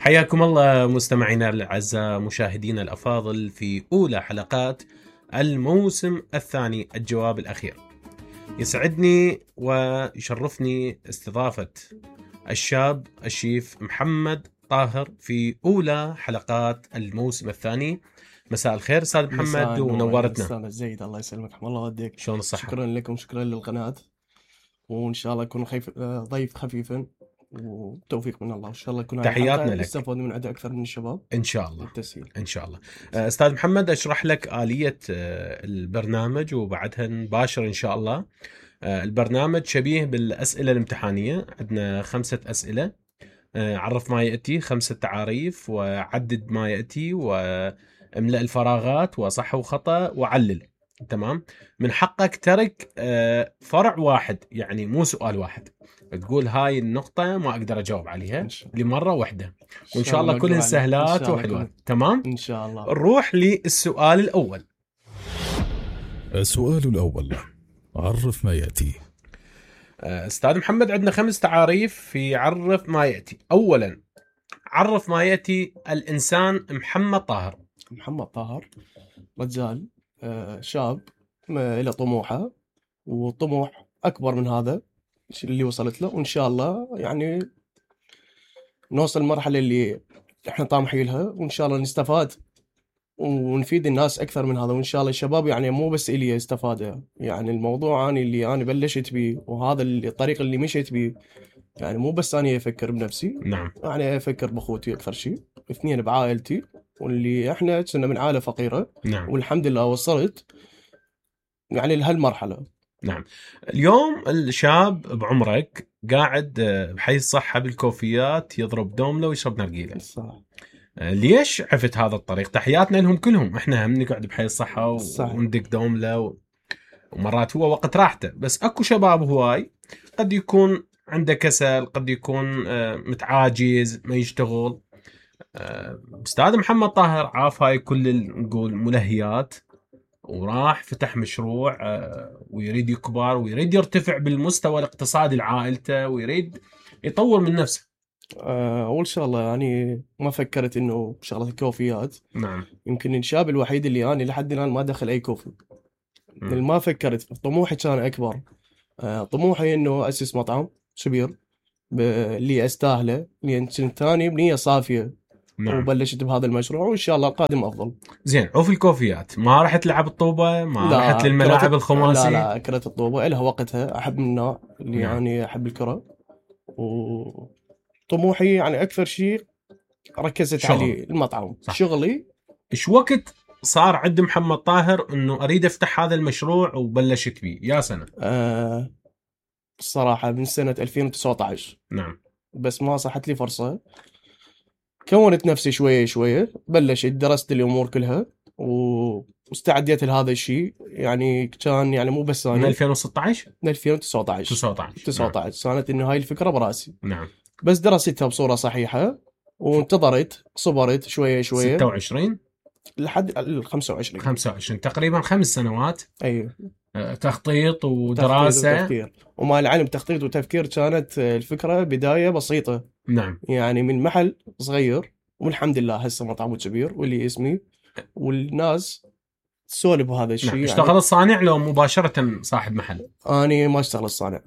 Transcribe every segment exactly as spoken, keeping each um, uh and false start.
حياكم الله مستمعينا الأعزاء، مشاهدينا الأفاضل في أولى حلقات الموسم الثاني، الجواب الأخير. يسعدني ويشرفني استضافة الشاب الشيف محمد طاهر في أولى حلقات الموسم الثاني. مساء الخير أستاذ محمد ونورتنا. أستاذ زيد، الله يسلمك، الله يوديك. شلون الصحة؟ شكرا لكم، شكرا للقناة، وإن شاء الله يكون خيف... ضيف خفيفا وتوفيق من الله. إن شاء الله يكون تحياتنا لك، استفاد من عدة أكثر من الشباب إن شاء الله. التسهيل إن شاء الله. أستاذ محمد، أشرح لك آلية البرنامج وبعدها نباشر إن شاء الله. البرنامج شبيه بالأسئلة الامتحانية، عندنا خمسة أسئلة. عرف ما يأتي، خمسة تعاريف، وعدد ما يأتي، واملأ الفراغات، وصح وخطأ، وعلل. تمام. من حقك ترك فرع واحد، يعني مو سؤال واحد، تقول هاي النقطة ما أقدر أجاوب عليها لمرة واحدة، وإن شاء الله كلهن سهلات وحلوات. تمام إن شاء الله. نروح للسؤال الأول. السؤال الأول، عرف ما يأتي. أستاذ محمد، عندنا خمس تعاريف في عرف ما يأتي. أولا، عرف ما يأتي الإنسان محمد طاهر. محمد طاهر رجال شاب له طموحه، وطموح أكبر من هذا اللي وصلت له، وإن شاء الله يعني نوصل المرحلة اللي إحنا طامحين لها، وإن شاء الله نستفاد ونفيد الناس أكثر من هذا. وإن شاء الله الشباب يعني مو بس إلي استفادة، يعني الموضوع أنا اللي أنا بلشت بيه، وهذا الطريق اللي مشيت بيه، يعني مو بس أنا أفكر بنفسي، نعم، يعني أفكر بأخوتي أكثر شيء، اثنين بعائلتي، واللي إحنا كنا من عائلة فقيرة. نعم. والحمد لله وصلت يعني لهالمرحلة. نعم. اليوم الشاب بعمرك قاعد بحي الصحة بالكوفيات، يضرب دوملة ويشرب نرجيلة. صح. ليش عفت هذا الطريق؟ تحياتنا لهم كلهم، احنا هم نقعد بحي الصحة وندق دوملة و... ومرات هو وقت راحته، بس اكو شباب هواي قد يكون عنده كسل، قد يكون متعاجز، ما يشتغل. أستاذ محمد طاهر عاف هاي كل نقول ملهيات، وراح فتح مشروع ويريد يكبر، ويريد يرتفع بالمستوى الاقتصادي لعائلته، ويريد يطور من نفسه. أول شغلة يعني ما فكرت إنه شغلة الكوفيات. نعم. يمكن الشاب الوحيد اللي أنا لحد الآن ما دخل أي كوفي. ما فكرت، طموحي كان أكبر. طموحي إنه أسس مطعم كبير اللي أستاهله، لأن كنت ثاني بنية صافية. نعم. وبلشت بهذا المشروع، وإن شاء الله القادم أفضل. زين، وفي الكوفيات ما راح تلعب الطوبة؟ ما رحت للملاعب الخماسي؟ لا لا، كرة الطوبة لها وقتها. أحب من النوع اللي نعم. يعني أحب الكرة، وطموحي يعني أكثر شيء ركزت شغل. عليه المطعم. صح. شغلي. إيش وقت صار عند محمد طاهر إنه أريد أفتح هذا المشروع وبلشت بيه؟ يا سنة؟ آه الصراحة من سنة ألفين وتسعة عشر. نعم. بس ما صحت لي فرصة، كونت نفسي شوية شوية، بلشت درست الأمور كلها واستعديت لهذا الشيء. يعني كان يعني مو بس أنا. من ألفين وستة عشر؟ من ألفين وتسعة عشر. تسعة عشر. تسعة عشر. نعم. كانت إنه هاي الفكرة براسي. نعم. بس درستها بصورة صحيحة، وانتظرت، صبرت شوية شوية. ستة وعشرين لحد الخمسة وعشرين. خمسة وعشرين تقريبا خمس سنوات. أيوه. تخطيط ودراسة. تخطيط وتفكير. ومع العلم تخطيط وتفكير كانت الفكرة بداية بسيطة. نعم. يعني من محل صغير، والحمد لله هسه مطعم كبير واللي اسمي، والناس تسولف بهذا الشيء. نعم. اشتغل يعني الصانع لو مباشرة صاحب محل؟ أنا ما اشتغل الصانع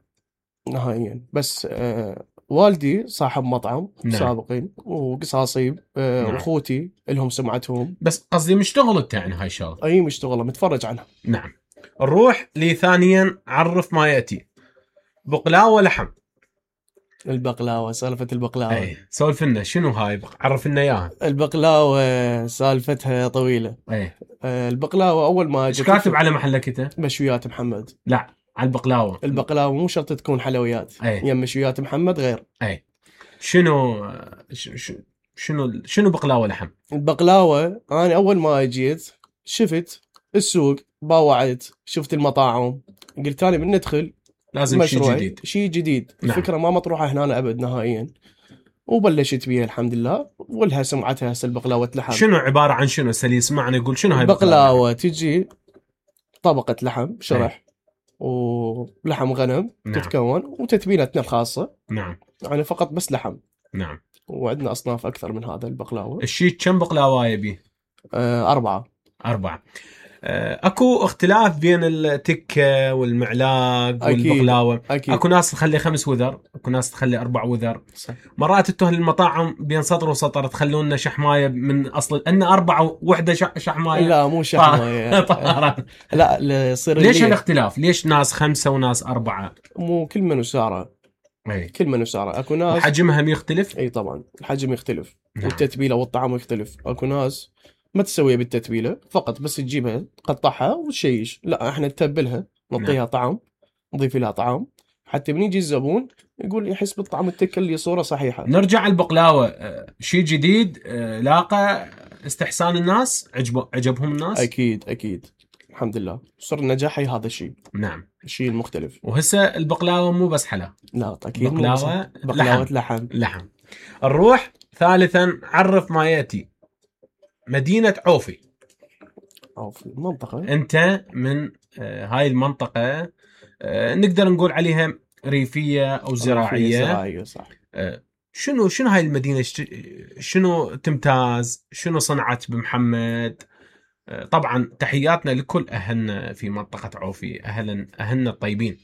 نهائيا، بس آه والدي صاحب مطعم. نعم. سابقين، وقصاصي آه نعم. واخوتي لهم سمعتهم. بس قصدي مشتغلت يعني هاي الشغله؟ اي مشتغله، متفرج عنها. نعم. نروح لثانيا، عرف ما يأتي. بقلاوة لحم. البقلاوة، سالفة البقلاوة. اي سولف لنا شنو هاي، عرف لنا اياها. البقلاوة سالفتها طويلة. اي آه البقلاوة اول ما ايش كاتب على محلك انت؟ مشويات محمد. لا، على البقلاوة. البقلاوة مو شرط تكون حلويات. يا مشويات محمد غير. اي شنو شنو شنو بقلاوة لحم؟ البقلاوة انا اول ما اجيت شفت السوق، باوعت، شفت المطاعم، قلت انا من ندخل لازم شيء جديد. شيء جديد. نعم. الفكرة ما مطروحة هنا ابد نهائيا، وبلشت بيها الحمد لله، ولها سمعتها هسه البقلاوة لحم. شنو عبارة عن شنو؟ سلي يسمعنا يقول شنو هاي البقلاوة؟ تجي طبقة لحم شرح ولحم غنم. نعم. تتكون وتتبيلتنا الخاصة. نعم. يعني فقط بس لحم. نعم. وعندنا اصناف اكثر من هذا البقلاوه. الشيك كم بقلاوه يبي؟ آه اربعه. اربعه. اكو اختلاف بين التكه والمعلاق والبقلاوه. أكيد. اكو ناس تخلي خمس وذر، اكو ناس تخلي اربع وذر. صح. مرات تتوه المطاعم بين سطر وسطر تخلون لنا شحمايه من اصل ان اربعه وحده شحمايه. لا مو شحمايه. لا يصير ليش الاختلاف؟ ليش ناس خمسه وناس اربعه؟ مو كل من وسعره. اي كل من وسعره. اكو ناس حجمها يختلف. اي طبعا الحجم يختلف. نعم. والتتبيله والطعم يختلف. اكو ناس ما تسويها بالتتبيله فقط، بس تجيبها تقطعها وتشيش. لا احنا نتبلها، نعطيها نعم. طعم، نضيف لها طعم حتى من يجي الزبون يقول يحس بالطعم التكه اللي صوره صحيحه. نرجع البقلاوه، شيء جديد لاقى استحسان الناس، عجب عجبهم الناس. اكيد اكيد الحمد لله صار نجاحي هذا الشيء. نعم. الشيء المختلف. وهسه البقلاوه مو بس حلا، لا اكيد بقلاوه بقلاوه لحم. لحم لحم. نروح ثالثا، عرف ما ياتي. مدينه عوفي. عوفي منطقه، انت من آه هاي المنطقه، آه نقدر نقول عليها ريفيه او زراعيه. زراعيه صح. آه شنو شنو هاي المدينه، شنو تمتاز، شنو صنعت بمحمد؟ آه طبعا تحياتنا لكل اهلنا في منطقه عوفي، اهلا اهلنا الطيبين.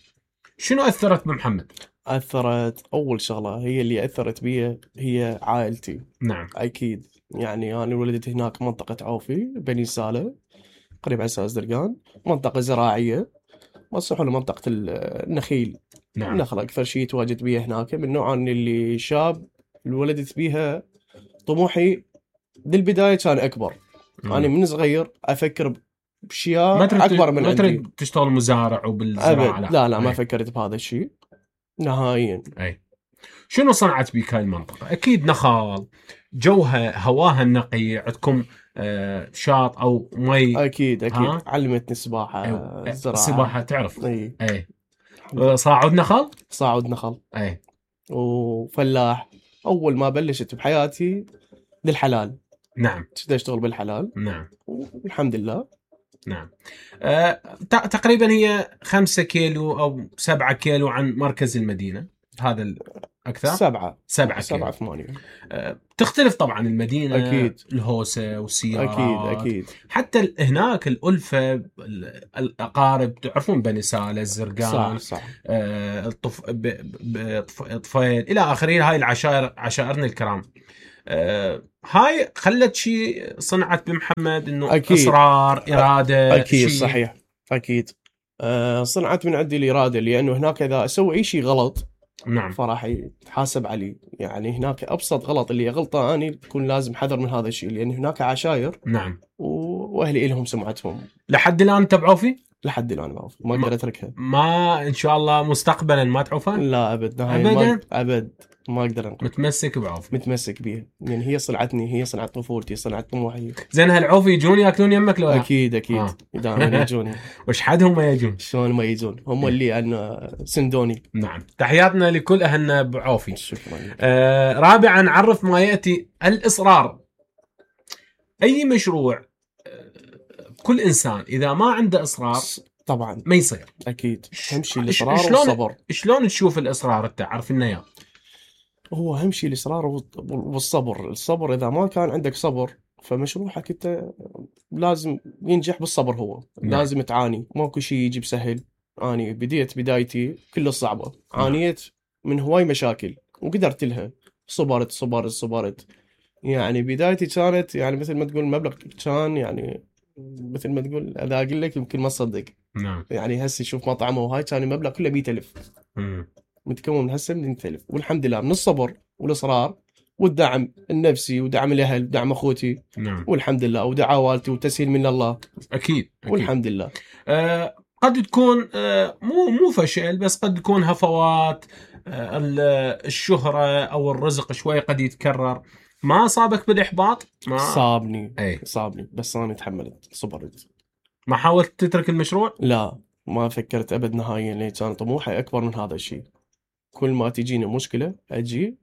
شنو اثرت بمحمد؟ اثرت اول شغله هي اللي اثرت بي هي عائلتي. نعم. اكيد يعني انا ولدت هناك منطقه عوفي بني ساله قريب على اساس درقان، منطقه زراعيه مصلح لمنطقه النخيل. نعم. النخل اكثر شيء تواجد بيه هناك، من نوع اللي شاب اللي ولدت بيها. طموحي بالبدايه كان اكبر. مم. انا من صغير افكر باشياء ما اكبر من ما عندي. تريد تشتغل مزارع وبالزراعه؟ لا لا, لا ما أي. فكرت بهذا الشيء نهائيا. اي. شنو صنعت بك هاي المنطقه؟ اكيد نخال، جوها هواها النقي، عندكم آه شاط او مي. اكيد اكيد ها؟ علمتني السباحه. أيوة. الزراعه السباحه تعرف. اي اي. صاعد نخل. صاعد نخل. اي. وفلاح. اول ما بلشت بحياتي بالحلال. نعم. كنت اشتغل بالحلال. نعم. والحمد لله. نعم. أه تقريبا هي خمسة كيلو او سبعة كيلو عن مركز المدينه، هذا الاكثر. سبعة سبعة سبعة كيلو. ثمانية. أه تختلف طبعا المدينه. اكيد. الهوسه والسيارات. اكيد اكيد. حتى هناك الالفه، الاقارب، تعرفون بني ساله، الزرقان. صح صح. أه الطف... ب... ب... طفيل الى اخره. هاي العشائر، عشائرنا الكرام. أه هاي خلت شيء صنعت بمحمد، انه أكيد. اصرار، اراده. اكيد شي... صحيح. اكيد. أه صنعت من عندي الاراده، لانه هناك اذا اسوي اي شيء غلط نعم فراح يتحاسب عليه. يعني هناك ابسط غلط اللي غلطه اني بكون لازم حذر من هذا الشيء، لان هناك عشاير. نعم. واهلي لهم سمعتهم. لحد الان تبعوا فيه؟ لحد الان ما ما اقدر اتركها. ما ان شاء الله مستقبلا ما تعوفها؟ لا ابد. ابدا ابد ما اقدر انقل. متمسك بعوفي؟ متمسك بيها، يعني هي صنعتني، هي صنعت طفولتي، صنعت طموحي. زين هالعوفي يجون ياكلون يمك لو؟ اكيد اكيد آه. دائما يجوني. وش حدهم ما يجون؟ شلون ما يجون؟ هم اللي انا سندوني. نعم. تحياتنا لكل اهلنا بعوفي. شكرا. آه رابعا، عرف ما ياتي. الاصرار. اي مشروع، كل انسان اذا ما عنده اصرار طبعا ما يصير. اكيد. اهم شيء الاصرار شلون والصبر. شلون تشوف الاصرار انت؟ عارف لنا اياه. هو اهم شيء الاصرار والصبر. الصبر اذا ما كان عندك صبر فمشروعك انت لازم ينجح بالصبر. هو نعم. لازم تعاني، ماكو شيء يجي بسهل. اني بديت بدايتي كلها صعبه. نعم. عانيت من هواي مشاكل وقدرت لها. صبرت صبرت صبرت. يعني بدايتي كانت يعني مثل ما تقول مبلغ كان يعني مثل ما تقول اذا اقول لك يمكن ما تصدق. نعم. يعني هسه شوف مطعمه وهاي كان المبلغ كله مئة ألف. امم متكون من هسه من مئة ألف. والحمد لله من الصبر والاصرار والدعم النفسي ودعم الاهل ودعم اخوتي. نعم. والحمد لله ودعاء والدتي وتسهيل من الله. اكيد, أكيد. والحمد لله. آه قد تكون آه مو مو فشل، بس قد تكون هفوات. آه الشهرة او الرزق شوي قد يتكرر. ما صابك بالاحباط؟ ما صابني. اي صابني بس انا تحملت صبرت. ما حاولت تترك المشروع؟ لا ما فكرت ابد نهائيا، لان كان طموحي اكبر من هذا الشيء. كل ما تجيني مشكله اجي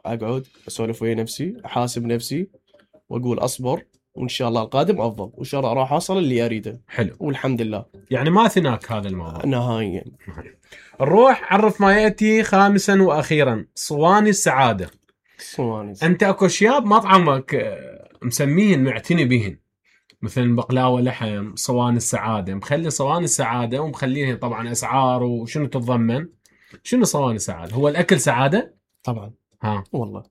اقعد اسولف ويا نفسي، احاسب نفسي واقول اصبر وان شاء الله القادم افضل، وان شاء الله راح اوصل اللي اريده. حلو. والحمد لله. يعني ما ثناك هذا الموضوع نهائيا. نروح عرف ما ياتي. خامسا واخيرا، صواني السعاده. صواني. انت اكو اشياء بمطعمك آه، مسميهن معتني بهن، مثل بقلاوه لحم، صواني السعاده، مخلي صواني السعاده ومخليها طبعا اسعار وشنو تتضمن. شنو صواني السعاده؟ هو الاكل سعاده؟ طبعا ها والله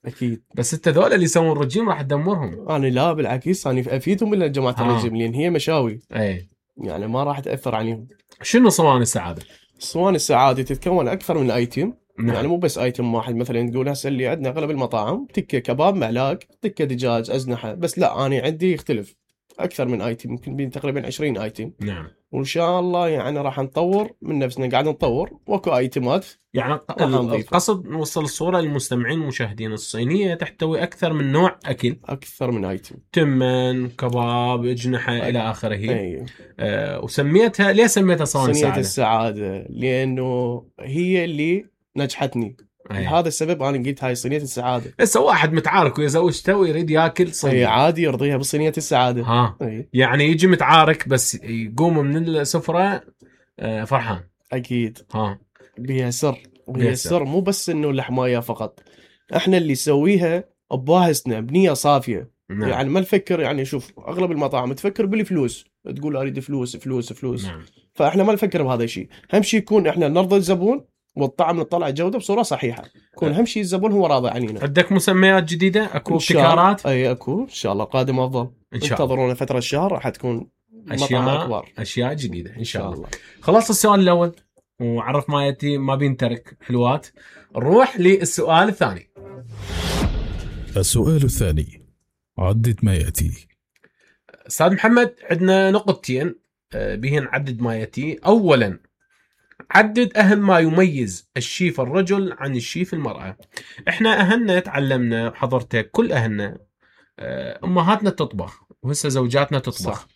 اكيد. بس انت ذول اللي يسوون رجيم راح تدمرهم. انا لا بالعكس، انا افيدهم من جماعه ها. الرجيم لان هي مشاوي اي يعني ما راح تاثر عليهم. شنو صواني السعاده؟ الصواني السعاده تتكون اكثر من ايتم. نعم. يعني مو بس ايتم واحد، مثلا تقول هسه اللي عندنا اغلب المطاعم تكه كباب معلاق، تكه دجاج، ازنحه، بس لا انا عندي يختلف اكثر من ايتم، يمكن بين تقريبا عشرين ايتم. نعم. وان شاء الله يعني راح نطور من نفسنا، قاعد نطور واكو ايتمات. يعني راح نضيفه. القصد نوصل الصوره للمستمعين والمشاهدين، الصينيه تحتوي اكثر من نوع اكل، اكثر من ايتم، تمن، كباب، اجنحه أي. الى اخره. اي آه وسميتها، ليه سميتها صواني صينية السعاده؟ السعادة لأنه هي اللي نجحتني. أي. لهذا السبب أنا قلت هاي صينية السعادة. هسه واحد متعارك ويا زوجته ويريد ياكل هي صينيه، عادي يرضيها بصينية السعادة. ها أي. يعني يجي متعارك بس يقوم من السفره آه فرحان. أكيد ها بيها سر، وهي بيها سر. السر مو بس إنه اللحماية فقط، إحنا اللي نسويها بباهسنا بنية صافية. نعم. يعني ما نفكر، يعني شوف أغلب المطاعم تفكر بالفلوس، تقول أريد فلوس فلوس فلوس. نعم. فإحنا ما نفكر بهذا الشيء. أهم شيء يكون إحنا نرضي الزبون والطعم نطلع جودة بصورة صحيحة، يكون أهم شيء الزبون هو راضي علينا. عندك مسميات جديده؟ اكو إن شاء الله. ابتكارات؟ اي اكو ان شاء الله قادم افضل. ان شاء الله انتظرونا فتره الشهر راح تكون مطعم اشياء اكبر اشياء جديده ان شاء الله. الله. خلاص السؤال الاول وعرف ما ياتي ما بينترك حلوات. نروح للسؤال الثاني. السؤال الثاني، عدد ما يأتي. استاذ محمد، عندنا نقطتين آه، بهن عدد ما ياتي. اولا، عدد اهم ما يميز الشيف الرجل عن الشيف المراه. احنا اهلنا تعلمنا بحضرتك، كل اهلنا آه، امهاتنا تطبخ وهسه زوجاتنا تطبخ. صح.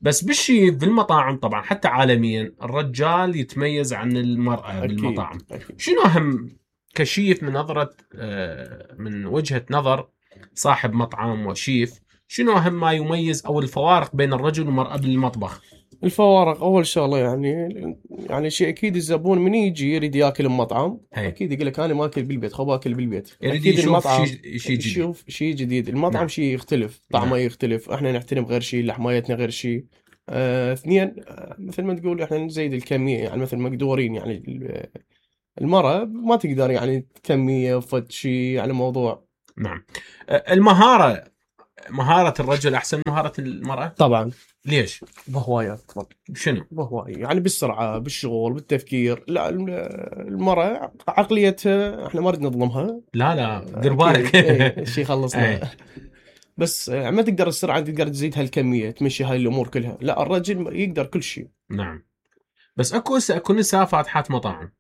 بس بالشيف بالمطاعم طبعا حتى عالميا الرجال يتميز عن المراه أكيد. بالمطاعم. أكيد. شنو اهم كشيف من نظره آه، من وجهه نظر صاحب مطعم وشيف، شنو اهم ما يميز او الفوارق بين الرجل والمراه بالمطبخ؟ الفوارق اول شغله يعني يعني شيء اكيد الزبون من يجي يريد ياكل بمطعم هي. اكيد يقول لك انا ما اكل بالبيت، خب اكل بالبيت. يريد اكيد يشوف المطعم شيء شيء جديد. يشوف شيء جديد. المطعم نعم. شيء يختلف، طعمه نعم. يختلف، احنا نحترم غير شيء، لحمايتنا غير شيء. آه، اثنين آه، مثل ما تقول احنا نزيد الكميه، يعني مثل مقدورين. يعني ال- المرأة ما تقدر يعني كميه فد شيء على موضوع. نعم. آه، المهاره، مهاره الرجل احسن من مهاره المراه؟ طبعا ليش؟ بهوايات شنو؟ بهواي يعني بالسرعة بالشغل بالتفكير. لا الم- المرأة عقليتها احنا ما نريد نظلمها. لا لا دير بالك. ايه شيء خلصنا. إيه. بس آه، ما تقدر السرعة تقدر تزيد هالكمية تمشي هاي الأمور كلها. لا الرجل يقدر كل شيء. نعم. بس اكو هسه اكو نساء فاتحات مطاعم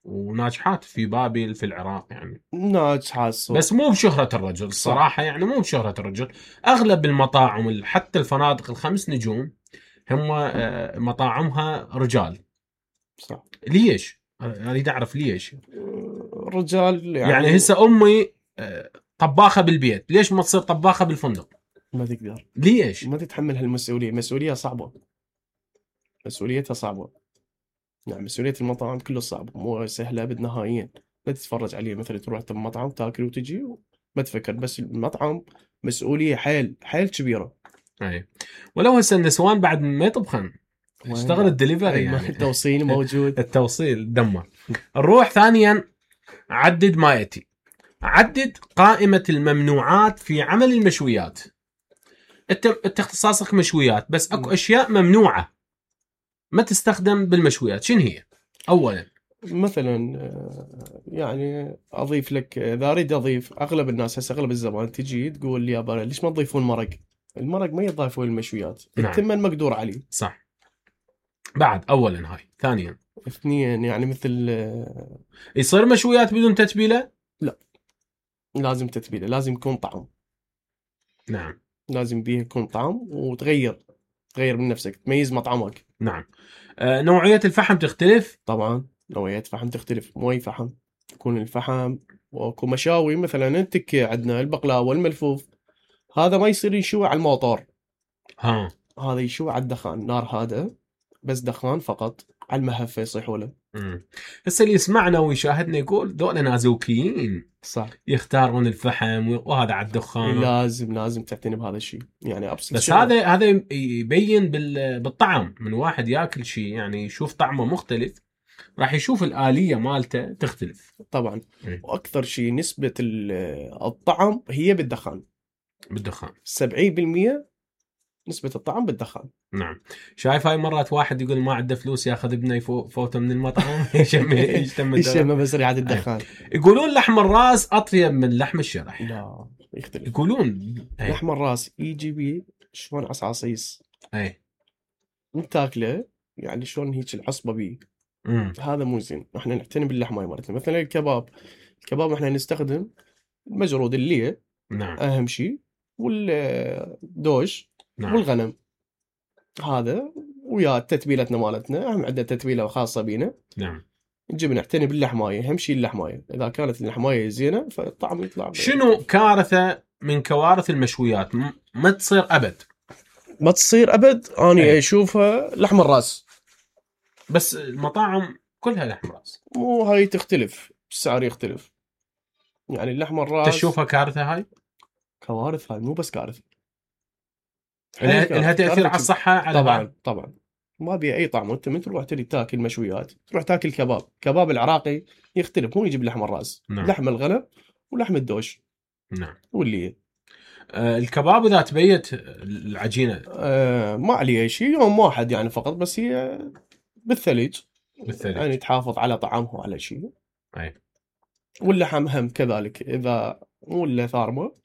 وناجحات في بابل في العراق يعني، ناجحة الصوت. بس مو بشهرة الرجل الصراحة. يعني مو بشهرة الرجل. اغلب المطاعم حتى الفنادق الخمس نجوم هم آه، مطاعمها رجال. صح. ليش؟ أنا اريد اعرف ليش. الرجال يعني, يعني هسه امي آه، طباخة بالبيت، ليش ما تصير طباخة بالفندق؟ ما تقدر، ليش؟ ما تتحمل هالمسؤولية. مسؤولية صعبة، مسؤوليتها صعبة. يعني مسؤولية المطاعم كله صعب، مو سهلة أبد نهائيا. لا تتفرج عليه مثلا تروح مطعم تاكل وتجي ما تفكر. بس المطعم مسؤولية حيل حيل كبيرة. اي ولو هسه النسوان بعد ما يطبخن اشتغل الدليفري يعني. التوصيل موجود. التوصيل دمر. نروح ثانيا، عدد ما يأتي. عدد قائمة الممنوعات في عمل المشويات. انت انت اختصاصك مشويات، بس اكو اشياء ممنوعة ما تستخدم بالمشويات، شنو هي؟ اولا مثلا آه، يعني اضيف لك، اذا اريد اضيف، اغلب الناس هسه اغلب الزبائن تجي تقول لي يابا ليش ما تضيفون مرق؟ المرق ما يضاف للمشويات. نعم. التمن مقدور عليه. صح. بعد اولا هاي. ثانيا اثنين يعني مثل آه، يصير مشويات بدون تتبيلة؟ لازم تتبيله، لازم يكون طعم. نعم. لازم بيه يكون طعم وتغير تغير من نفسك، تميز مطعمك. نعم. آه نوعية الفحم تختلف؟ طبعا نوعية فحم تختلف. مو اي فحم يكون الفحم. واكو مشاوي مثلا التكة عندنا البقلاوة والملفوف، هذا ما يصير يشوي على الموتور. ها. هذا يشوي على الدخان، نار هذا بس دخان فقط، على المهفة يصيحوا له. امم هسه اللي يسمعنا ويشاهدنا يقول ذولا نازوكيين صح. يختارون الفحم وهذا على الدخان. لازم لازم تعتني بهذا الشيء، يعني ابسط بس شيء. هذا هذا يبين بال- بالطعم، من واحد ياكل شيء يعني يشوف طعمه مختلف راح يشوف الآلية مالته تختلف طبعا. إيه. واكثر شيء نسبة ال- الطعم هي بالدخان، بالدخان. سبعين بالمئة نسبة الطعم بالدخان. نعم. شايف هاي مرات واحد يقول ما عنده فلوس ياخذ ابنه يفو- فوته من المطعم يشم يشتم الدواء. يشم بس ريحة الدخان. يقولون لحم الراس اطيب من لحم الشرح. لا يختلف. يقولون أي. لحم الراس يجي بيه شلون عصاصيص، اي انت تاكله يعني شلون هيك العصبة بيه. امم هذا مو زين. احنا نعتني باللحم هاي مرتين. مثلا الكباب، الكباب احنا نستخدم المجرود اللي نعم اهم شيء، والدوش نعم والغنم. هذا ويا تتبيلتنا مالتنا، اهم عندنا تتبيله خاصه بينا. نعم. نجي نعتني باللحمايه، اهم شيء اللحمايه، اذا كانت اللحمايه زينه فالطعم يطلع. شنو كارثه من كوارث المشويات م- ما تصير ابد؟ ما تصير ابد. اني أي. اشوفها لحم الراس. بس المطاعم كلها لحم راس. مو هاي تختلف، السعر يختلف. يعني اللحم الراس تشوفها كارثه هاي؟ كوارث. هاي مو بس كارثه، لها لها تاثير على الصحه على طبعا بعض. طبعا. ما بيها اي طعم. انت من تروح تريد تاكل مشويات تروح تاكل كباب، كباب العراقي يختلف، مو يجيب لحم الراس. نعم. لحم الغنم ولحم الدوش نعم. واللي آه الكباب اذا تبيت العجينه آه ما عليه اي شيء، يوم واحد يعني فقط، بس هي بالثلج بالثلج. يعني تحافظ على طعمها وعلى شيء. اي واللحم هم كذلك، اذا مو الا ثارمه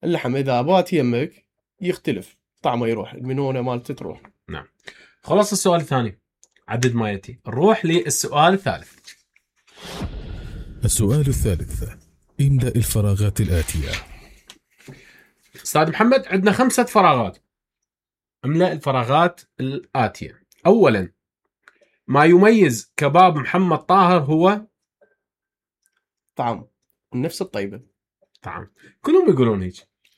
اللحم اذا بات يمك يختلف طعمه، يروح المنونه مالته تروح. نعم. خلص السؤال الثاني، عدد ما ياتي. نروح للسؤال الثالث. السؤال الثالث، املأ الفراغات الآتية. استاذ محمد عندنا خمسة فراغات، املأ الفراغات الآتية. اولا، ما يميز كباب محمد طاهر هو طعم النفس الطيبه. طعم. كلهم يقولون هيك.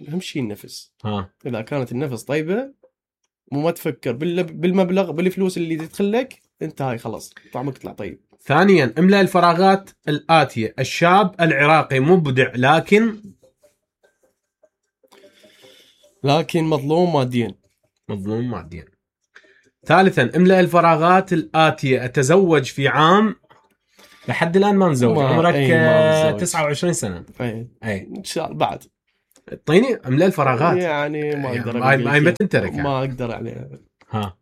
اهم شيء النفس. ها اذا كانت النفس طيبه، مو ما تفكر بال- بالمبلغ بالفلوس اللي تدخل لك، انت هاي خلاص طعمك يطلع طيب. ثانيا، املأ الفراغات الآتية. الشاب العراقي مبدع لكن لكن مظلوم ماديا. مظلوم ماديا. ثالثا، املأ الفراغات الآتية. أتزوج في عام، لحد الآن ما مزوج، ما- عمرك أي ما آه، متزوج. تسعة وعشرين سنة. اي أي ان شاء الله بعد. اعطيني املأ الفراغات. يعني ما يعني اقدر ما أقول ما لك. ما تنترك يعني. ما اقدر يعني. ها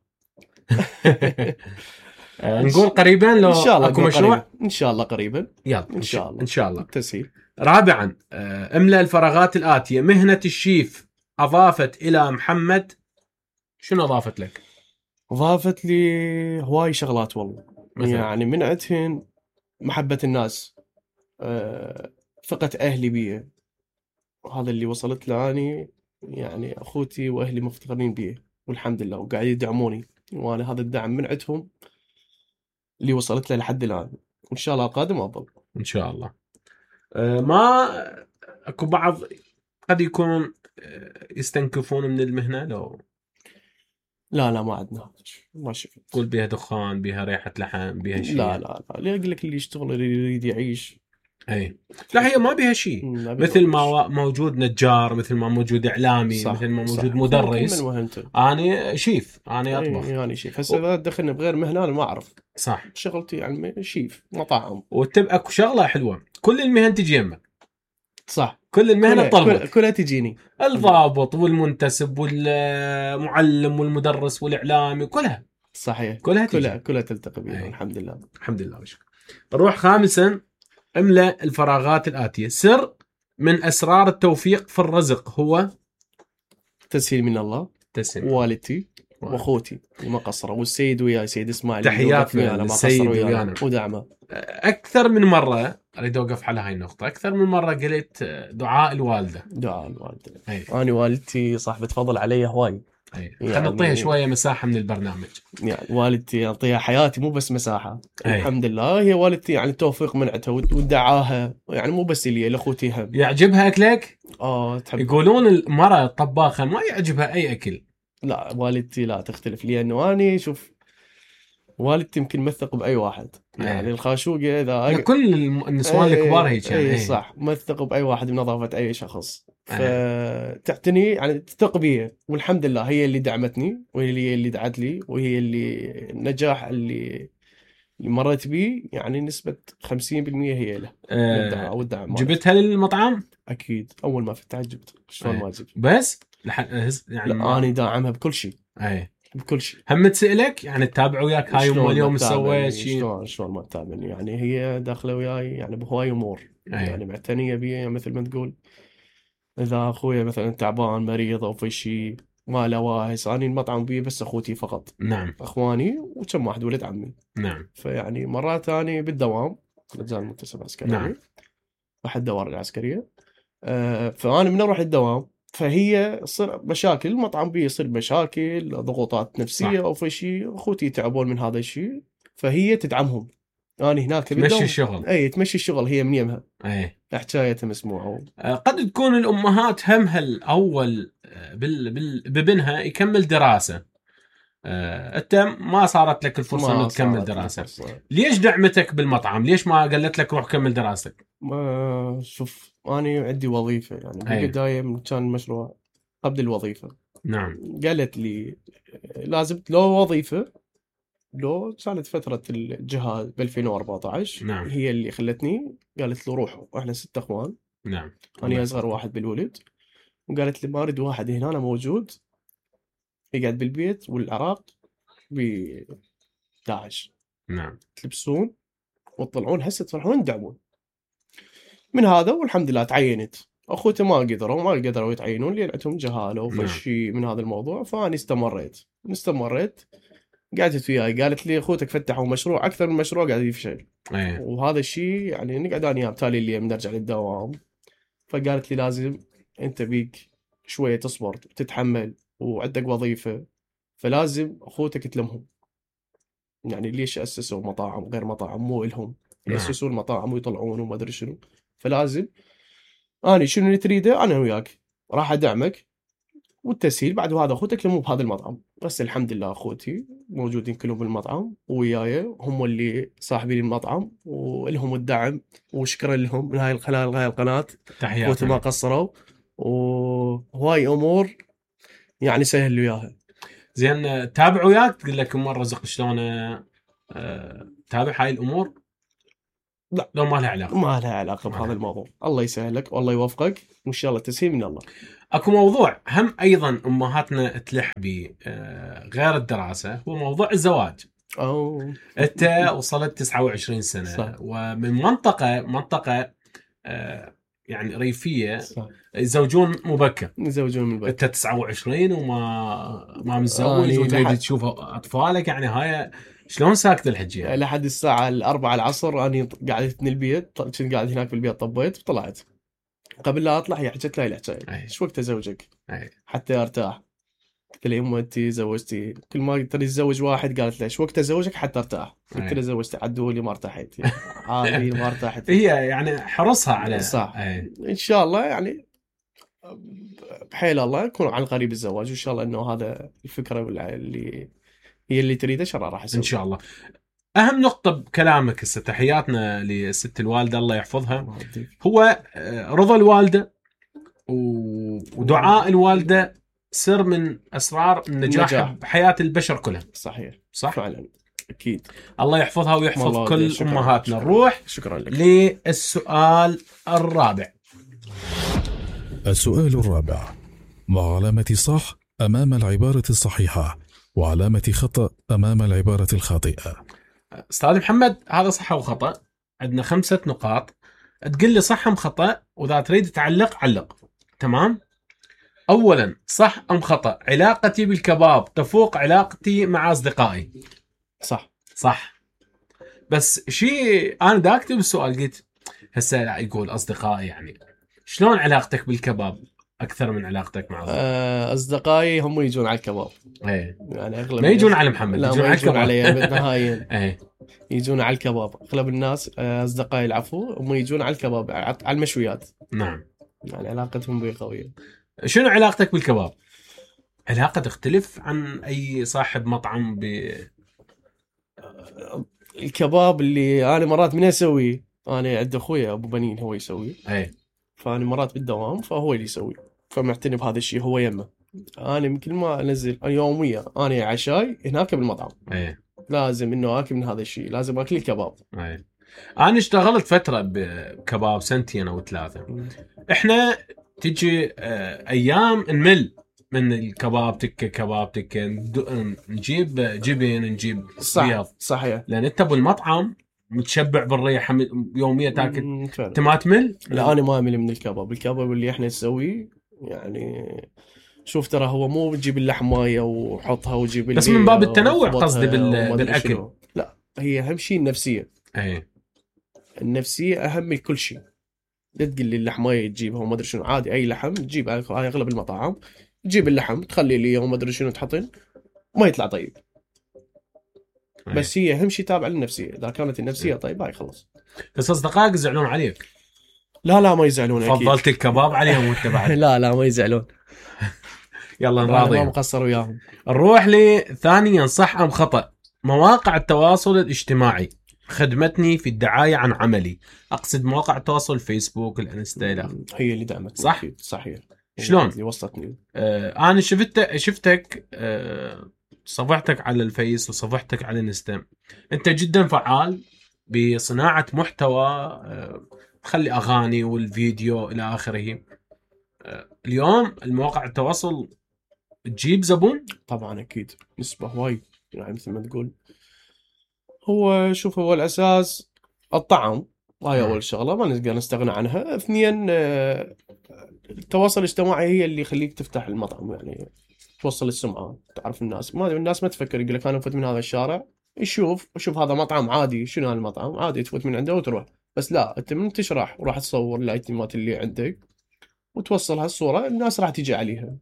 آه، نقول قريبا لو ان شاء الله اكو نقول مشروع. قريبا. ان شاء الله قريبا يلا ان شاء الله. ان شاء الله. تسهيل. رابعا، آه، املأ الفراغات الآتية. مهنة الشيف أضافت إلى محمد شنو أضافت لك؟ ضافت لي هواي شغلات والله. مثلا؟ يعني من عندهن محبة الناس، أه ثقة أهلي بي، هذا اللي وصلت له أني. يعني أخوتي وأهلي مفتخرين بي والحمد لله، وقاعد يدعموني، وأنا هذا الدعم من عندهم اللي وصلت له لحد الآن، وإن شاء الله القادم أفضل. إن شاء الله. آه، ما أكو بعض قد يكونون آه، يستنكفون من المهنة، لو لا لا ما عندنا هذا الشيء. ما شفت. تقول بيها دخان، بيها ريحة لحم، بيها شيء. لا لا لا اللي أقول لك اللي يشتغل اللي يريد يعيش. أي لا، هي ما بيها شيء. ما بي مثل ما ما موجود نجار، مثل ما موجود إعلامي، صح، مثل ما صح. موجود كل- مدرس. كل من وهنته. أنا شيف، أنا أطبخ. إيه، يعني شيف. هسه اذا دخلنا بغير مهنه انا ما اعرف. صح. شغلتي يعني شيف مطاعم. وتبقى اكو شغله حلوه، كل المهن تجي يمك. صح. كل المهن كلها, تطلبك. كلها, كلها تجيني. الضابط والمنتسب والمعلم والمدرس والاعلامي، كلها صحيح. كلها تجي. كلها كلها تلتقي بي. أي. الحمد لله. الحمد لله وشكرا. نروح خامسا، املأ الفراغات الآتية. سر من أسرار التوفيق في الرزق هو تسهيل من الله. تسليم. والدتي واخوتي ما قصروا، والسيد وياي سيد اسماعيل تحياتنا للسيد ويانا. ودعمه. أكثر من مرة أريد أوقف على هاي النقطة. أكثر من مرة قلت دعاء الوالدة. دعاء الوالده. أي. انا والدتي صاحبه فضل علي هواي. أي. يعني- خلينا نعطيها شوية مساحة من البرنامج. يعني والدتي اعطيها حياتي مو بس مساحه. أي. الحمد لله هي والدتي يعني التوفيق من عندها ودعاها، يعني مو بس لي لاخوتي هم. يعجبها أكلك؟ اه تحب. يقولون المرأة الطباخة ما يعجبها أي أكل. لا والدتي لا تختلف، لانه اني شوف والدتي يمكن مثق باي واحد. يعني أيه. الخاشوقه اذا يعني كل النسوان الكبار هيك يعني. اي أيه. صح، ما تثق باي واحد بنظافه اي شخص، أيه. فتعتني يعني تثق بيها، والحمد لله هي اللي دعمتني، وهي اللي دعت لي، وهي اللي النجاح اللي اللي مريت به يعني نسبه خمسين بالمئة هي له. أه او الدعم مالتها. جبتها للمطعم؟ اكيد اول ما فتحت جبت، شلون أيه. ما اجيب؟ بس لح... يعني لا ما... انا داعمها بكل شيء. اي بكل شيء. هم تسألك يعني تتابع وياك هاي ام اليوم سويت شيء؟ شلون شلون ما تتابعني؟ يعني هي داخله وياي يعني بهواي امور، يعني معتنيه بي يعني مثل ما تقول. اذا اخويا مثلا تعبان مريض او في شيء ما له واهس، اني المطعم بي بس اخوتي فقط. نعم. اخواني وكم واحد ولد عمي. نعم. فيعني مرات اني بالدوام لجان منتسب عسكري. نعم. واحد دوار العسكريه. آه فانا من اروح الدوام فهي تصير مشاكل، المطعم بي يصير مشاكل ضغوطات نفسيه صح. او في شيء، اخوتي يتعبون من هذا الشيء فهي تدعمهم. انا هناك تمشي الشغل. اي تمشي الشغل هي من يمها. اي حكايتها مسموعه. قد تكون الامهات همها الاول بال... بال... ببنها يكمل دراسه. انت ما صارت لك الفرصه انك تكمل دراسه. الفرصة. ليش دعمتك بالمطعم؟ ليش ما قالت لك روح كمل دراستك؟ ما شوف انا عندي وظيفه يعني بالبدايه كان المشروع قبل الوظيفه. نعم. قالت لي لازم لو وظيفه، لو كانت فتره الجهاز ب ألفين وأربعة عشر. نعم. هي اللي خلتني، قالت له روح، واحنا ست اخوان. نعم. انا اصغر واحد بالولد، وقالت لي ما اريد واحد هنا أنا موجود يقعد بالبيت والعراق ب داعش. نعم. تلبسون وتطلعون هسه تروحون تدعمون من هذا. والحمد لله تعينت. اخوتي ما قدروا ما قدروا يتعينون لان عندهم جهاله وفشي من هذا الموضوع. فاني استمريت استمريت قعدت وياي، قالت لي اخوتك فتحوا مشروع اكثر من مشروع قاعد يفشل. أيه. وهذا الشيء يعني نقعد انا تالي اللي بنرجع للدوام. فقالت لي لازم انت بيك شويه تصبر وتتحمل وعندك وظيفه، فلازم اخوتك تلمهم. يعني ليش اسسوا مطاعم غير مطاعم مو الهم ياسسون المطاعم ويطلعون وما ادري شنو. فلازم اني شنو اللي تريده انا وياك راح ادعمك والتسهيل بعد. وهذا اخوتك مو بهذا المطعم بس. الحمد لله اخوتي موجودين كلهم بالمطعم وياي، هم اللي صاحبين المطعم ولهم الدعم وشكرا لهم من هاي القناه هاي القناه. تحياتي. ما قصروا وهواي امور يعني سهل وياها. زين تابع وياك تقول لك ام الرزق شلون أه... تابع هاي الامور؟ لا لو ما لها علاقه. ما لها علاقه بهذا الموضوع. الله يسهلك والله يوفقك وان شاء الله تسهيل من الله. اكو موضوع هم ايضا امهاتنا تلح به غير الدراسه، هو موضوع الزواج. أوه. انت وصلت تسعة وعشرين سنه صح. ومن منطقه منطقه يعني ريفيه صح. يزوجون مبكر. يزوجون مبكر. انت تسعة وعشرين وما ما متزوج آه وتريد لحد... تشوف اطفالك، يعني هاي شلون ساكت الحجيه؟ لحد الساعه الأربعة العصر انا قعدت من البيت، كنت قاعد هناك بالبيت طبيت وطلعت. قبل لا اطلع هي حكت لي الحكايه شو وقت ازوجك أي. حتى ارتاح. قلت لها يمه انت زوجتي كل ما قلت لي تزوج واحد قالت لي شو وقت ازوجك حتى ارتاح. قلت لها زوجتي عدولي ما ارتحت عادي ما ارتحت. هي يعني حرصها على صح. أي. ان شاء الله يعني بحيل الله يكون على قريب الزواج وان شاء الله انه هذا الفكره اللي هي اللي تريده شرع راح يسوي ان شاء الله. اهم نقطه بكلامك هسه تحياتنا لست الوالده الله يحفظها، هو رضا الوالده ودعاء الوالده سر من اسرار النجاح, النجاح. بحياه البشر كلها. صحيح صح فعلا اكيد. الله يحفظها ويحفظ كل شكرا. امهاتنا. نروح شكرا لك. للسؤال الرابع. السؤال الرابع: مع علامة صح أمام العبارة الصحيحة وعلامة خطأ أمام العبارة الخاطئة. أستاذ محمد هذا صح أو خطأ؟ عندنا خمسة نقاط تقول لي صح أم خطأ، وإذا تريد تعلق علق. تمام؟ أولا صح أم خطأ علاقتي بالكباب تفوق علاقتي مع أصدقائي؟ صح. صح. بس شيء أنا دا أكتب السؤال قلت هسه يقول أصدقائي، يعني شلون علاقتك بالكباب أكثر من علاقتك مع أصدقائي؟ أصدقائي هم يجون على الكباب. ايه يعني أغلب ما يجون على محمد، لا يجون ما على يجون علي بالنهاية. ايه يجون على الكباب. أغلب الناس أصدقائي العفو هم يجون على الكباب على المشويات. نعم. يعني علاقتهم بي قوية. شنو علاقتك بالكباب؟ علاقة تختلف عن أي صاحب مطعم ب الكباب اللي انا مرات من اسوي، انا عند اخوي ابو بنين هو يسوي، اي فانا مرات بالدوام فهو اللي يسوي، فمعتني بهذا الشيء هو يمه. انا من كل ما انزل يوميا انا عشاي هناك بالمطعم، اي لازم انه اكل من هذا الشيء، لازم اكل الكباب. اي انا اشتغلت فتره بكباب سنتين او ثلاثه. احنا تجي آه، ايام نمل من الكباب، تكه كباب تكه، ند- نجيب جبن، نجيب صح بيض، صحيح. لان انت بالمطعم متشبع بالريحه م- يوميا تاكل، مم، فعلا. انت ما تمل. لا انا ما امل من الكباب، الكباب اللي احنا نسويه يعني شوف ترى هو مو بتجيب اللحمايه وحطها وجيب بس اللي من باب التنوع وخبطها قصدي بال- وما أدري بالأكل. شنو. لا هي اهم شيء النفسيه، اي النفسيه اهم من كل شيء. لا تقول لي اللحمايه تجيبها وما ادري شنو، عادي اي لحم تجيب، هاي اغلب المطاعم تجيب اللحم تخلي لي وما ادري شنو تحطين ما يطلع طيب. أي. بس هي اهم شيء تابع للنفسيه، اذا كانت النفسيه طيبه هاي خلص. بس اصدقائك يزعلون عليك، لا لا ما يزعلون اكيد. فضلت الكباب عليهم وانت بعد. لا لا ما يزعلون، يلا انا ما نراضيهم. مقصر وياهم. نروح لثانيا صح ام خطأ. مواقع التواصل الاجتماعي خدمتني في الدعاية عن عملي. أقصد مواقع التواصل الفيسبوك الانستا إلى آخره. هي اللي دعمتني. صح؟ أكيد. صحيح. شلون؟ اللي وصلتني. آه أنا شفتك شفتك آه صفحتك على الفيس وصفحتك على الانستا، أنت جدا فعال بصناعة محتوى، آه تخلي أغاني والفيديو إلى آخره. آه اليوم المواقع التواصل تجيب زبون؟ طبعا اكيد نسبة هواي، يعني مثل ما تقول هو شوف هو الاساس الطعم، هاي مم. اول شغله ما نقدر نستغنى عنها. اثنين آه، التواصل الاجتماعي هي اللي يخليك تفتح المطعم، يعني توصل السمعه، تعرف الناس. ما الناس ما تفكر، يقول لك انا افوت من هذا الشارع يشوف شوف هذا مطعم عادي، شنو هذا المطعم عادي تفوت من عنده وتروح. بس لا انت من تشرح وراح تصور الايتمات اللي عندك وتوصل هالصوره، الناس راح تيجي عليها.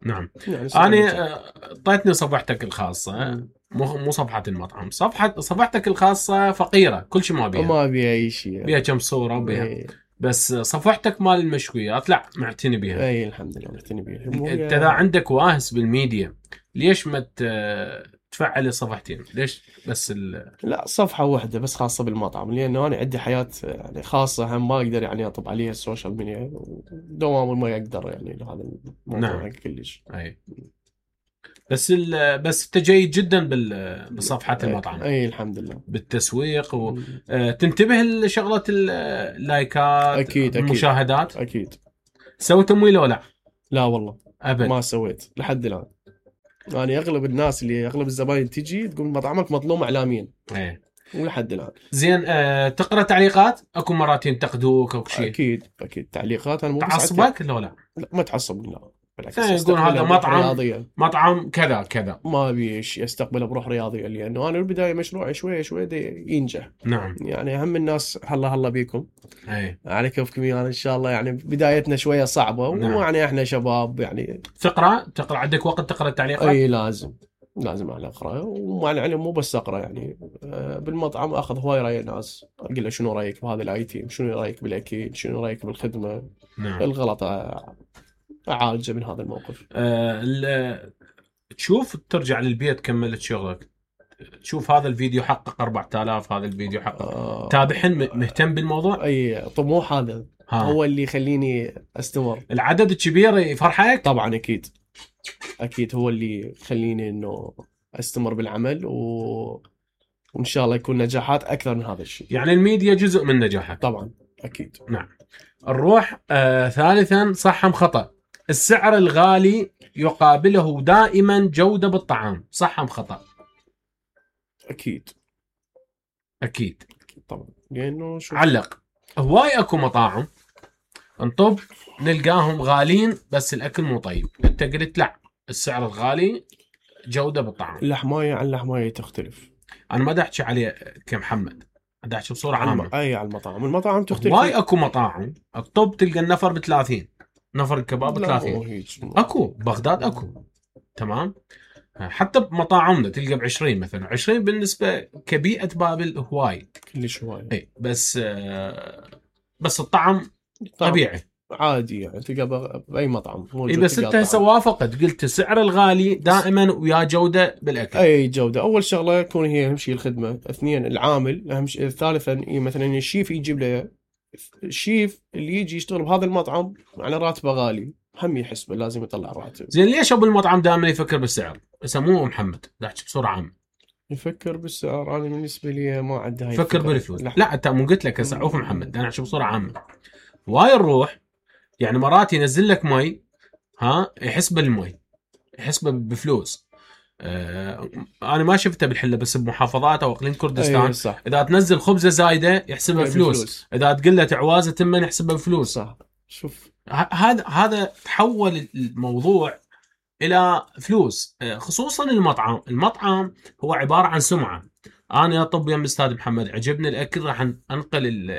نعم. يعني أنا آه، أعطيتني صفحتك الخاصة، مم. مو مو صفحة المطعم، صفحة صفحتك الخاصة فقيرة، كل شيء ما بيها، ما ابي اي شيء. بيها كم صورة وبيها، اي بس صفحتك مال المشويات لا معتني بيها. اي الحمد لله معتني بيها. مو هي- انت اذا عندك واهس بالميديا ليش ما ت- تفعل صفحتين؟ ليش بس ال... لا صفحة واحدة بس خاصة بالمطعم، لأنه أنا عندي حياة يعني خاصة، هم ما أقدر يعني أطب عليها السوشيال ميديا، ودوام ما يقدر يعني لهذا الموضوع. نعم. كلش. اي بس ال... بس انت جيد جدا بال... بصفحات المطعم، أي الحمد لله. بالتسويق، مم. وتنتبه لشغلة اللايكات، أكيد أكيد المشاهدات. أكيد. سوي تمويل ولا لا؟ لا والله ابد. ما سويت لحد الآن. يعني أغلب الناس اللي أغلب الزباين تجي تقول مطعمك مظلوم إعلاميا، ايه. ولحد الآن. زين آه، تقرا تعليقات؟ اكو مرات ينتقدوك او شيء أكيد أكيد تعليقات. أنا مو بس تعصبك ولا لا؟ لا ما تعصب، لا بالعكس ثاني يقول استقبلها هذا بروح مطعم رياضية. مطعم كذا كذا. ما ابي شيء استقبله بروح رياضيه، لانه انا بالبدايه مشروعي شوي شوي دي ينجح. نعم. يعني اهم الناس هلا هلا بيكم اي على كيفكم يعني ان شاء الله. يعني بدايتنا شويه صعبه، نعم. ويعني احنا شباب يعني. تقرا تقرا عندك وقت تقرا التعليقات؟ اي لازم لازم انا اقرا، ومع العلم مو بس اقرا يعني آه، بالمطعم اخذ هواي راي الناس، اقول له شنو رايك بهذا الايتم، شنو رايك بالاكل، شنو رايك بالخدمه، نعم. الغلط آه، اعالجه من هذا الموقف. آه ال- تشوف ترجع للبيت كملت شغلك، تشوف هذا الفيديو حقق أربعة آلاف، هذا الفيديو حقق، آه، تابعهن م- مهتم بالموضوع؟ اي طموح هذا ها. هو اللي يخليني استمر. العدد الكبير يفرحك؟ طبعا اكيد اكيد هو اللي يخليني انه استمر بالعمل، و... وان شاء الله يكون نجاحات اكثر من هذا الشيء. يعني الميديا جزء من نجاحك. طبعا اكيد. نعم. نروح آه ثالثا صح ام خطأ. السعر الغالي يقابله دائما جودة بالطعام، صح ام خطأ؟ اكيد اكيد. اكيد طبعا، لانه شوف علق. هواي اكو مطاعم انطب نلقاهم غالين بس الاكل مو طيب، انت قلت لا السعر الغالي جودة بالطعام. اللحمايه عن اللحمايه تختلف. انا ما دا احكي عليه كمحمد، دا احكي بصورة عامة. اي على المطاعم، المطاعم تختلف. هواي اكو مطاعم الطب تلقى النفر بثلاثين، نفر الكباب لا، بثلاثين. مو هيك. اكو بغداد اكو تمام، حتى بمطاعمنا تلقى بعشرين مثلا. عشرين بالنسبة كبيئة بابل هواي كلش هواي. اي، بس آه بس الطعم طبعاً. طبيعي. عادي يعني تلقى باي مطعم موجود. اي بس انت هسه وافقت قلت السعر الغالي دائما ويا جوده بالاكل. اي جوده. اول شغله يكون هي اهم شيء الخدمه، اثنين العامل اهم شيء، ثالثا مثلا الشيف يجيب له، الشيف اللي يجي يشتغل بهذا المطعم على راتبه غالي هم يحسبه لازم يطلع راتب. زين ليش ابو المطعم دائما يفكر بالسعر؟ يسموه محمد احكي بسرعه عامه. يفكر بالسعر، انا بالنسبه لي ما عندي هاي فكر بالفلوس. لا انت مو قلت لك هسه عوف محمد انا احكي بسرعه عامه. واي نروح يعني مرات ينزل لك مي، ها يحسب المي يحسبه بفلوس. آه انا ما شفته بالحله بس بمحافظات او اقليم كردستان. أيه صح. اذا تنزل خبزه زايده يحسبها فلوس. بفلوس، اذا تقول له تعوازه تمن يحسبها بفلوس. صح. شوف هذا هذا تحول الموضوع الى فلوس، خصوصا المطعم. المطعم هو عباره عن سمعه. انا اطب يم استاذ محمد عجبني الاكل راح انقل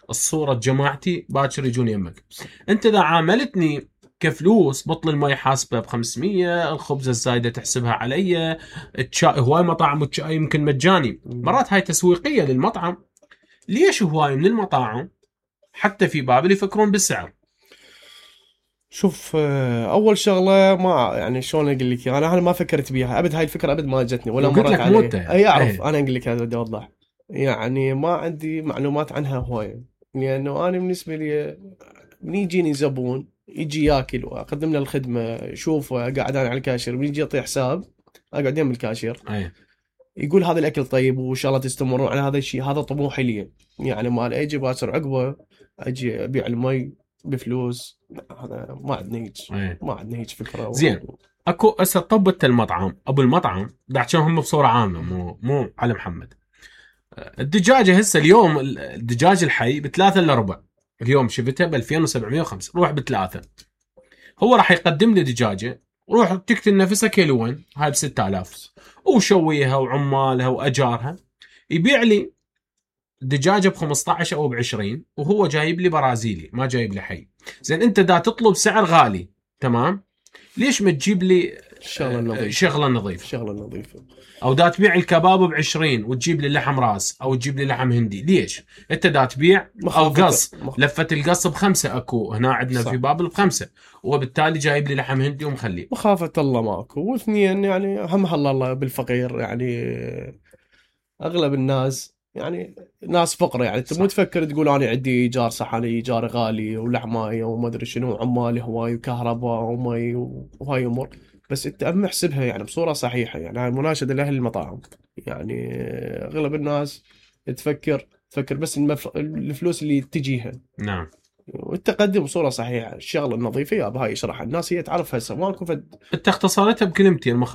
الصوره جماعتي باكر يجون يمك. انت اذا عاملتني كفلوس بطل المي حاسبه ب خمسمية، الخبزه الزايده تحسبها علي، الشاي هواي مطاعم والشاي يمكن مجاني. مرات هاي تسويقيه للمطعم. ليش هواي من المطاعم حتى في بابل يفكرون بالسعر؟ شوف اول شغله ما يعني شلون اقول لك، انا انا ما فكرت بيها ابد، هاي الفكره ابد ما جتني ولا مرت علي. اي اعرف انا اقول لك هذا بدي اوضح، يعني ما عندي معلومات عنها هوايه، لانه انا بالنسبه لي من يجيني زبون يجي ياكل واقدم له الخدمه، اشوفه قاعد انا على الكاشير، من يجي يعطي حساب اقعد يم الكاشير أيه. يقول هذا الاكل طيب وان شاء الله تستمرون على هذا الشيء، هذا طموحي لي. يعني ما اجي باكر عقبه اجي ابيع المي بفلوس، هذا ما عندنا هيك. أيه. ما عندنا هيك فكره. زين و... اكو هسه طبت المطعم ابو المطعم دعشان هم بصوره عامه مو مو على محمد. الدجاجه هسه اليوم الدجاج الحي بثلاثة الا ربع، اليوم شفتها ب ألفين وسبعمية وخمسة، روح بثلاثه. هو راح يقدم لي دجاجه روح تقتل نفسها كيلوين هاي ب ستة آلاف وشويها وعمالها واجارها، يبيع لي دجاجه ب خمسة عشر او ب عشرين وهو جايب لي برازيلي ما جايب لي حي. زين انت دا تطلب سعر غالي تمام، ليش ما تجيب لي شغله نظيفه؟ شغله نظيفه شغله نظيفه. او دا تبيع الكباب ب عشرين وتجيب لي لحم راس او تجيب لي لحم هندي، ليش انت دا تبيع او قص لفه القص بخمسه، اكو هنا عندنا صح. في بابل بخمسه وبالتالي جايب لي لحم هندي ومخليه. مخافه الله ماكو. واثنين يعني هم الله بالفقير، يعني اغلب الناس يعني ناس فقر، يعني انت مو تفكر تقول انا عندي ايجار صح، انا ايجار غالي ولحمايه وما ادري شنو عمالي هواي وكهرباء ومي وهاي امور، بس انت اهم احسبها يعني بصوره صحيحه. يعني هاي مناشده لاهل المطاعم، يعني اغلب الناس تفكر تفكر بس المف... الفلوس اللي تجيها. نعم. والتقدم بصوره صحيحه، الشغله النظيفه يا بهاي اشرح الناس هي تعرف هسه ماكو فد. انت اختصرتها بكلمتين.